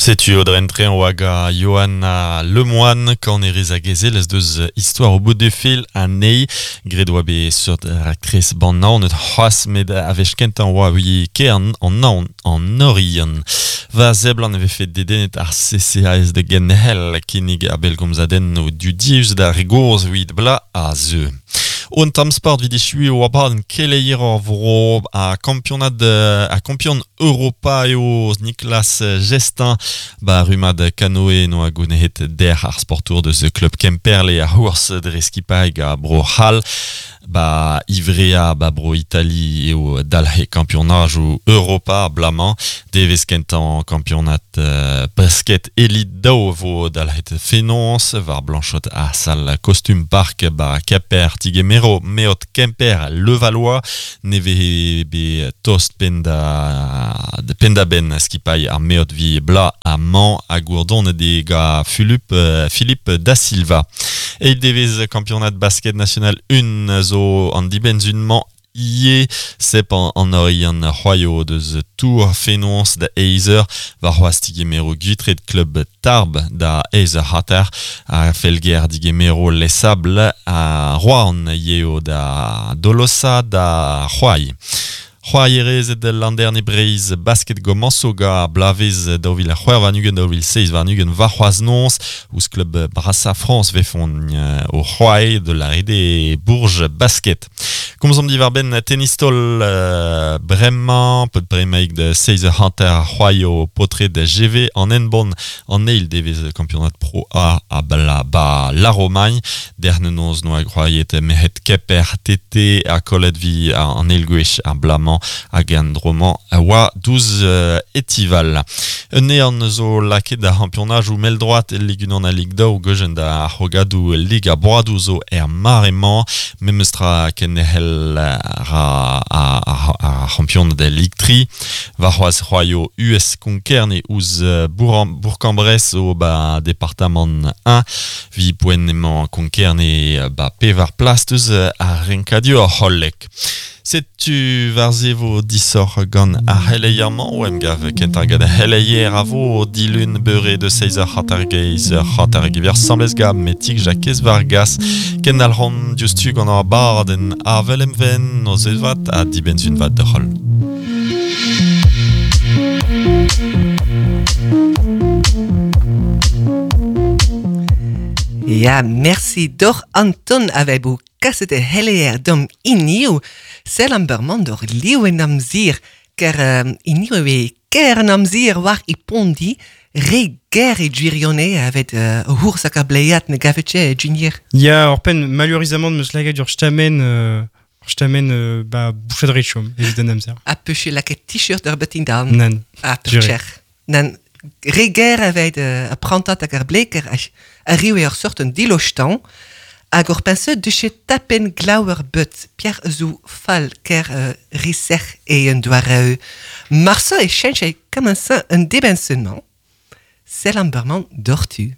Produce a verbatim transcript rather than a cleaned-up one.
Setu o drentre an oa ga Johanna Lemoine kan erez hag ezel ez deus histoire au bout du fil anei gred oa be seurt raktres ban naon et c'hoaz met a vech kentañ oa wi kern an naon an orion. Va zeblan e vefe dedennet ar C C A S de genhel kinnig a belgomzaden o dudius da rigourz wit bla a zeu. Un tam sport vid echui o abadenn keleier ar vro a kampionad a kampion Europa eo Nicolas Gestin ba rumad kanoe no a gounehet der ar sportour deus club Kemperle a hours dre skipaig a bro Hall ba Ivrea ba bro Itali eo dalhe kampionaj o Europa blamañ devez kentan kampionat euh, basket elite daou vo dalhet fenons var Blanchot a sal costume park ba Keper Tigemero Meot Kemper Levallois neve be tost penda de penda ben skipai ar meot vi bla a man a gourdon de ga Philippe euh, Philippe da Silva. E devez kampionat basket national un zo an dibenzunman ie sep an, an orion c'hoaio deus Tour Fenons da Eizer war c'hoaz digemero gwitret club Tarb da Eizer Hatter a felger digemero Les Sables a Rouen yeo da Dolosa da c'hoai. C'hoaierez et landerne Breiz basket gomanso ga blavez daou vil c'hwec'h warn-ugent daou vil seizh warn-ugent war c'hoaz nonz ouz club Brassa France vefont euh, o c'hoai de la rede Bourges basket. Komzomp diwar ben tennistol euh, bremañ, peut bremaik de seizh hanter c'hoaio potret de G V an enbon an eil devez kampionat pro A a bla ba la Romagne. Derne noz noa c'hoaiet mehet Keper T T a kolet vi an eil gwech ar blamañ hag an dromañ a oa douz euh, etival. Un ean zo laket da championaj ou mel droit el Ligue un a Ligue daou gojen da c'hogadou Liga Broadou zo er maremañ memestra ken hel ra a, a, a champion de Ligue tri war c'hoaz c'hoaio U S Konkerne ouz Bourg-en-Bresse o ba departamant un vi poen emañ Konkerne ba pevar plas deus ar renkadur hollek. Setu war ze vo disoc'h gant ar c'heleier-mañ o emgav kentañ gant ar c'heleier a vo dilun beure de seizh eur hanter geiz eur hanter gever samblez gant metik Jakez Vargas ken al ran diouzhtu gant ar barden avel emven o zezvat ha dibenzun vat d'ur c'holl. Ja, merci doch Anton avebo kaset e heleer dom iniou sel an berman dor liou en amzir ker um, iniou e ker an amzir war i pondi re ger e gwirione avet uh, hours hag a bleiat ne gavetche e junior. Ya, ur pen malurizamant meus lagad ur stamen euh, ur stamen euh, ba bouchad rechom evit an amzer. A peche laket t-shirt ur betin dan. Nan. A pecher. Nan re ger avet uh, a prantat hag ar bleker a, a riwe ur sort un dilostan hag ur pense duche tapen glauer but Pierre zo fall ker uh, riser e un doareu. Marsa e chench e kamensa un debensenman. Sel an berman dortu.